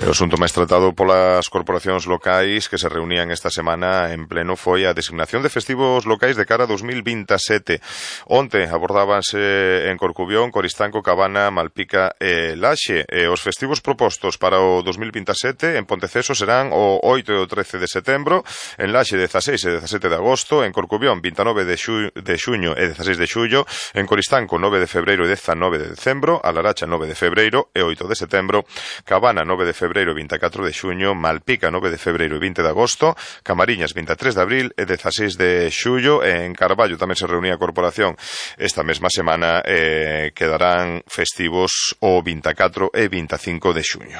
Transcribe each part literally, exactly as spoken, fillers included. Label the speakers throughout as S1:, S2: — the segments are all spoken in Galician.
S1: O asunto máis tratado polas corporacións locais que se reunían esta semana en pleno foi a designación de festivos locais de cara a dos mil vintisete. Onte abordábanse en Corcubión, Coristanco, Cabana, Malpica e Laxe. E os festivos propostos para o dos mil vintisete en Ponteceso serán o oito e o trece de setembro, en Laxe dezaseis e dezasete de agosto, en Corcubión vinte e nove de xuño e dezaseis de xullo, en Coristanco nove de febreiro e dezanove de decembro, a Laracha nove de febreiro e oito de setembro, Cabana nove de febreiro e vinte e catro de xuño, Malpica nove de febreiro e vinte de agosto, Camariñas vinte e tres de abril e dezaseis de xullo, e en Carballo tamén se reunía a corporación esta mesma semana. eh, quedarán festivos o vinte e catro e vinte e cinco de xuño.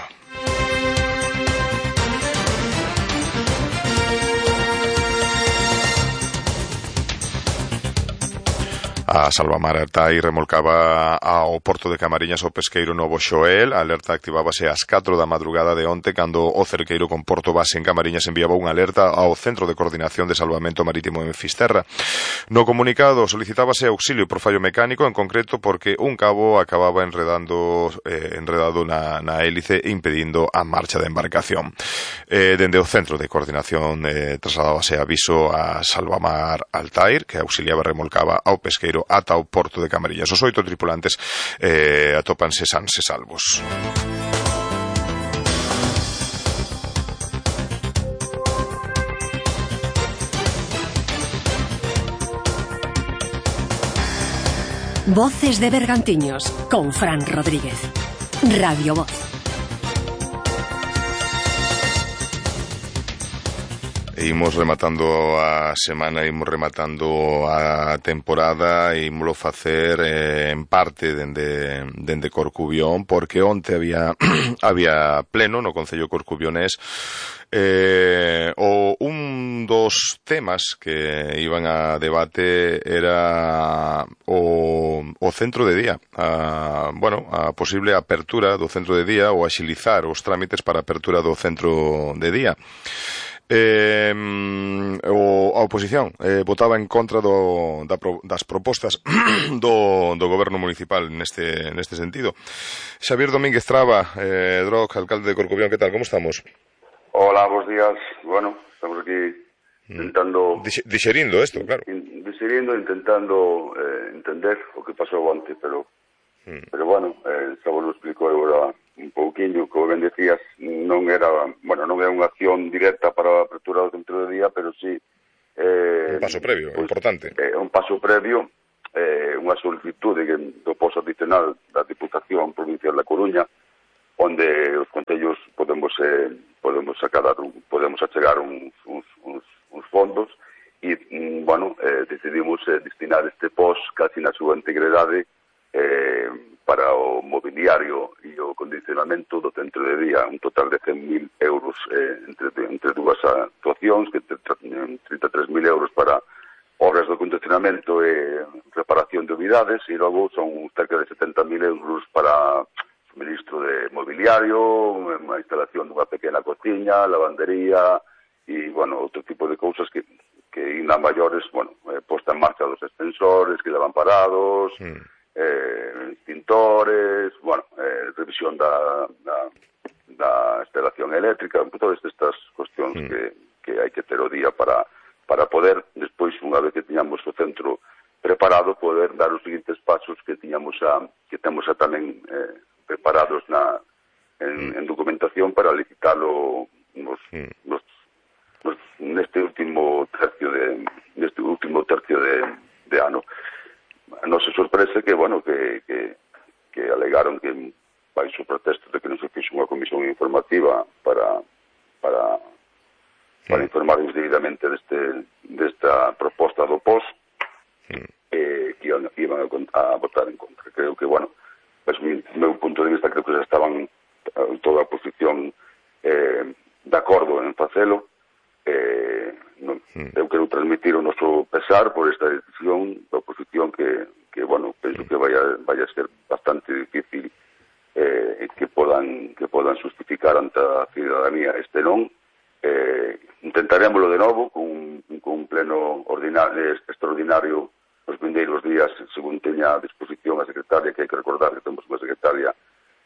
S1: A Salvamar Altai remolcaba ao porto de Camariñas o pesqueiro Novo Xoel. A alerta activábase ás catro da madrugada de onte, cando o cerqueiro con porto base en Camariñas enviaba unha alerta ao Centro de Coordinación de Salvamento Marítimo en Fisterra. No comunicado solicitábase auxilio por fallo mecánico, en concreto porque un cabo acababa enredando eh, enredado na, na hélice, impedindo a marcha da embarcación. Eh, dende o Centro de Coordinación eh, trasladábase aviso a Salvamar Altair, que auxiliaba e remolcaba ao pesqueiro ata o porto de Camariñas. Os oito tripulantes eh, atópanse sans e salvos.
S2: Voces de Bergantiños con Fran Rodríguez. Radio Voz.
S1: Imos rematando a semana, imos rematando a temporada, e imolo facer eh, en parte dende, dende Corcubión, porque onte había había pleno no Concello corcubionés. Eh, o un dos temas que iban a debate era o, o centro de día, a, bueno, a posible apertura do centro de día ou axilizar os trámites para a apertura do centro de día. Eh, o, a oposición eh, votaba en contra do, da, das propostas do, do goberno municipal neste, neste sentido. Xavier Domínguez Traba, eh, Droc, alcalde de Corcubión, que tal, como estamos?
S3: Hola, buenos días. Bueno, estamos aquí intentando...
S1: Dix, dixerindo isto, claro.
S3: In, dixerindo, intentando eh, entender o que pasou onte, pero mm. pero bueno, eh, xa vos lo explico agora un pouquiño, como ben decías, non era, bueno, non era unha acción directa para a apertura do centro de día, pero sí eh,
S1: un paso previo, pues, importante.
S3: Eh, un paso previo, eh, unha solicitude do posto adicional da Diputación Provincial da Coruña, onde os concellos podemos eh, podemos sacar podemos achegar uns, uns, uns, uns fondos e, bueno, eh, decidimos eh, destinar este post casi na súa integridade eh, para o mobiliario e o condicionamento do centro de día, un total de cen mil euros eh, entre, entre dúas actuacións, que trinta e tres mil euros para obras de condicionamento e reparación de unidades, e logo son cerca de setenta mil euros para suministro de mobiliario, unha instalación dunha pequena cociña, lavandería e, bueno, outro tipo de cousas que, que ainda maiores, bueno, eh, posta en marcha dos extensores que levan parados, mm. eh, extintores, bueno, eh, revisión da, da, da instalación eléctrica, todas estas cuestións mm. que, que hai que ter o día para, para poder, despois, unha vez que tiñamos o centro preparado, poder dar os seguintes pasos que tiñamos a, que temos a tamén eh, preparados na, en, en documentación para licitarlo nos, mm. nos, nos, neste último tercio de neste último tercio de, de ano. Non se sorprese que, bueno, que, que, que alegaron que baixo protesto de que non se fixo unha comisión informativa para para, para mm. informarnos debidamente deste, desta proposta do P O S, mm. eh, que iban, iban a, a votar en contra. Creo que, bueno, pues, mi meu punto de vista, creo que xa estaban toda a oposición eh, de acordo en facelo. Eh, non, mm. eu quero transmitir o noso pesar por esta decisión da oposición que, que bueno, penso que vai a, vai a ser bastante difícil eh, que podan que podan justificar ante a ciudadanía este non. Eh, intentaremoslo de novo con, con un pleno ordinario, extraordinario os vindeiros días, según teña a disposición a secretaria, que hai que recordar que temos unha secretaria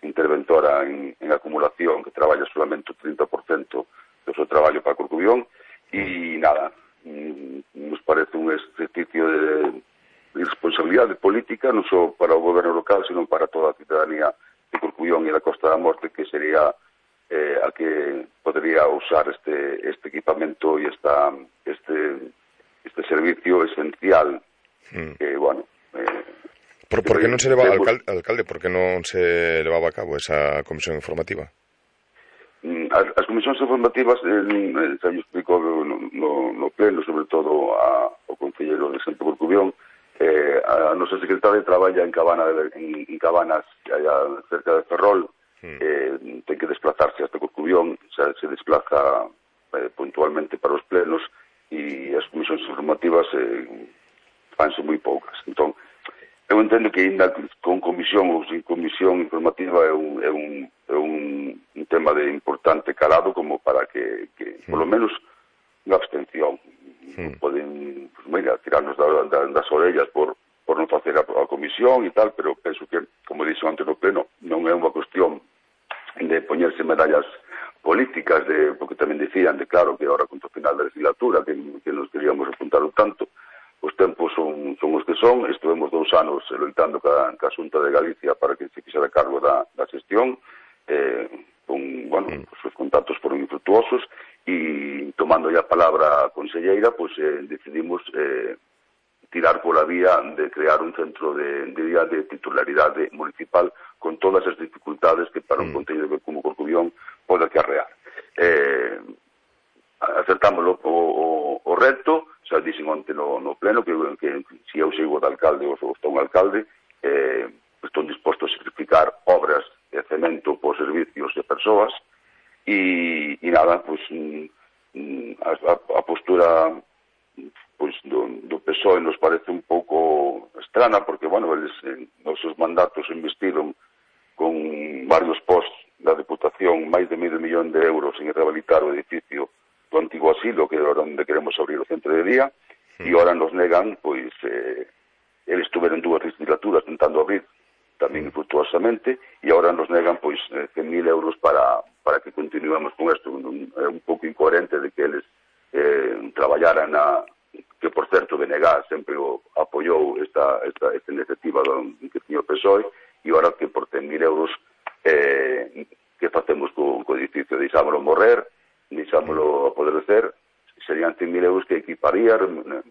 S3: interventora en, en acumulación que traballa solamente o trinta por cento do seu traballo para Corcubión, e nada, nos parece un exercicio de responsabilidade política non só para o goberno local, sino para toda a ciudadanía de Corcubión e da Costa da Morte, que sería eh, a que podría usar este, este equipamento e esta, este, este servicio esencial mm. que, bueno... Eh,
S1: Por, por que non se leva, alcalde, alcalde, por que non se levaba a cabo esa comisión informativa?
S3: As, as comisións informativas, eh, xa yo explico no, no, no pleno, sobre todo a, ao concelleiro de Santo Corcubión, eh, a nosa secretaria traballa en, Cabana de, en, en Cabanas, allá cerca de Ferrol, mm. eh, ten que desplazarse hasta Corcubión, xa, se desplaza eh, puntualmente para os plenos, e as comisións informativas eh, fanse moi poucas. Entón, eu entendo que ainda con comisión ou sin comisión informativa é un, é un, é un, un tema de importante calado como para que, que mm. por lo menos, unha abstención. Mm. Poden, pues, mira, tirarnos da, da, das orellas por, por non facer a, a comisión e tal, pero penso que, como dixo antes no pleno, non é unha cuestión de poñerse medallas políticas, de, porque tamén dicían de claro que ahora contra o final da legislatura que, que nos queríamos apuntar un tanto, os tempos son, son os que son. Estivemos dous anos loitando ca, ca Xunta de Galicia para que se fixera cargo da, da xestión, eh, con, bueno, mm. pues, os contactos foron infructuosos, e tomando ya a palabra a conselleira, pues eh, decidimos eh, tirar pola vía de crear un centro de, de día de titularidade municipal con todas as dificultades que para un mm. concello como Corcubión pode acarrear. Eh, acertámoslo o, o, o reto, xa dixen onte no, no pleno que, que se eu sigo de alcalde ou está un alcalde, eh, estou disposto a sacrificar obras de cemento por servicios de persoas, e, e nada, pues, a, a postura pues, do, do P S O E nos parece un pouco estrana, porque, bueno, eles en nos seus mandatos investiron con varios posts da Deputación máis de medio millón de euros en rehabilitar o edificio do antigo asilo, que era onde queremos abrir o centro de día, e ahora nos negan, pois, eh, eles tuveron dúas legislaturas tentando abrir, tamén infructuosamente, e agora nos negan, pois, cen mil euros para, para que continuemos con isto. É un pouco incoherente de que eles eh, traballaran na, que, por certo, B N G sempre o apoiou esta, esta, esta iniciativa do, que tiña o P S O E, e agora que por cen mil euros eh, que facemos co, co edificio, deixámoslo morrer, deixámoslo apodrecer, serían cen mil euros que equiparía,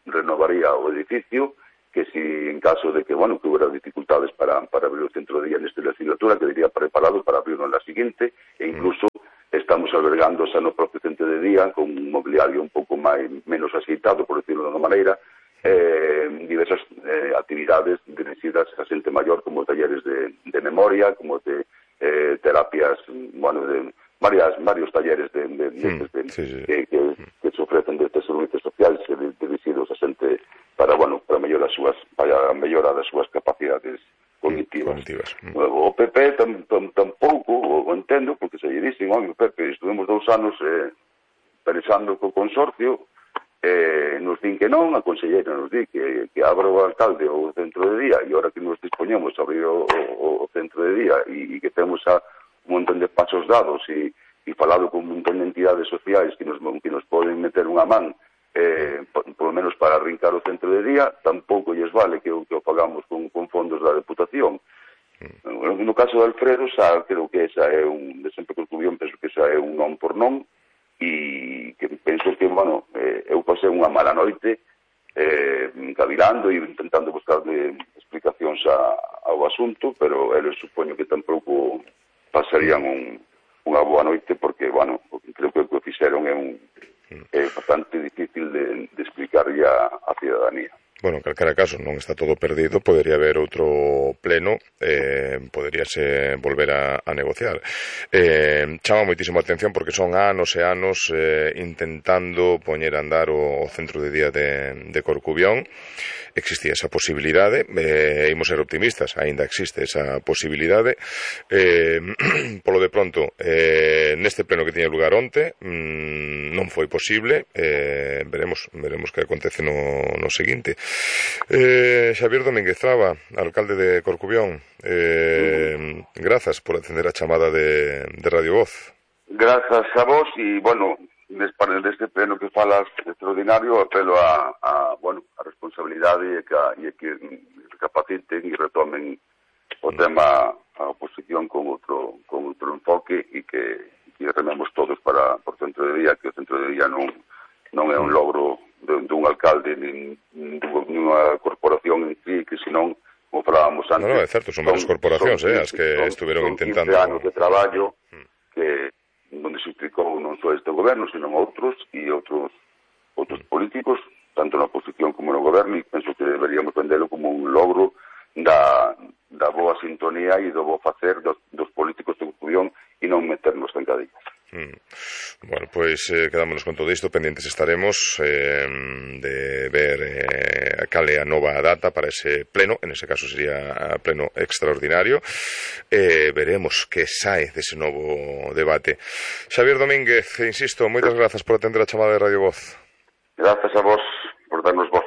S3: renovaría o edificio, que si en caso de que, bueno, que hubiera dificultades para, para abrir o centro de día nesta legislatura, quedaría preparado para abrirlo en la siguiente, e incluso estamos albergando xa no propio centro de día con un mobiliario un pouco máis, menos aceitado, por decirlo de unha maneira, eh, diversas eh, actividades dirigidas a xente maior, como talleres de, de memoria, como de eh, terapias, bueno, de varias, varios talleres de, de, de, de, de, sí, sí. Que, que, que se ofrecen desde servicios sociales dirigidos a xente para, bueno, para mellorar as súas, para mellorar as súas capacidades cognitivas. cognitivas. Mm. O P P tam, tam, tampouco o entendo, porque se lle dicen, oi, o P P, estuvemos dous anos eh, pensando co consorcio, eh, nos din que non, a conselleira nos di que, que abra o alcalde o centro de día, e ahora que nos dispoñemos a abrir o, o, o centro de día, e, e que temos a un montón de pasos dados, e, e falado con un montón de entidades sociais que nos, que nos poden meter unha man, eh, por, por lo menos para arrincar o centro de día, tampouco lles vale que o, que o pagamos con, con fondos da Deputación. Mm. No caso de Alfredo, xa creo que esa é un, de sempre Corcubión, penso que esa é un non por non, e que penso que, bueno, eh, eu pasei unha mala noite eh, cavilando e intentando buscarle explicacións a, ao asunto, pero eles supoño que tampouco pasarían un, unha boa noite, porque, bueno, creo que o que fixeron é un é bastante difícil de, de explicarlle a, a ciudadanía.
S1: Bueno, en calquera caso, non está todo perdido, podería haber outro pleno, eh, poderíase volver a, a negociar. Eh, chama moitísimo a atención porque son anos e anos eh, intentando poñer a andar o, o centro de día de, de Corcubión. Existía esa posibilidade, eh, imos ser optimistas, aínda existe esa posibilidade. Eh, polo de pronto, eh, neste pleno que tiña lugar onte, mmm, non foi posible, eh, veremos veremos que acontece no, no seguinte. Eh, Xavier Domínguez Traba, alcalde de Corcubión, eh, grazas por atender a chamada de, de Radio Voz.
S3: Grazas a vos, e, bueno, deste pleno que falas extraordinario, apelo a, a bueno, a responsabilidade e que, e que recapaciten e retomen o tema a oposición con outro con outro enfoque e que, que rememos todos para por centro de día, que o centro de día non non é un logro de, de un alcalde nin dunha corporación en sí, que senón, como falábamos antes,
S1: no, no, é certo, son varias corporacións, eh, as que
S3: son,
S1: estuveron
S3: son
S1: intentando
S3: anos de traballo que onde se implicou non só este goberno, senón outros e outros outros políticos, tanto na oposición como no goberno, e penso que deberíamos vendelo como un logro da, da boa sintonía e do bo facer dos, dos políticos de Corcubión e non meternos en cadillas.
S1: Mm. Bueno, pois eh, quedámonos con todo isto, pendientes estaremos eh, de ver eh, cal é a nova data para ese pleno, en ese caso sería pleno extraordinario, eh, veremos que sae dese novo debate. Xavier Domínguez, insisto, moitas grazas por atender a chamada de Radio Voz.
S3: Grazas a vos por darnos voz.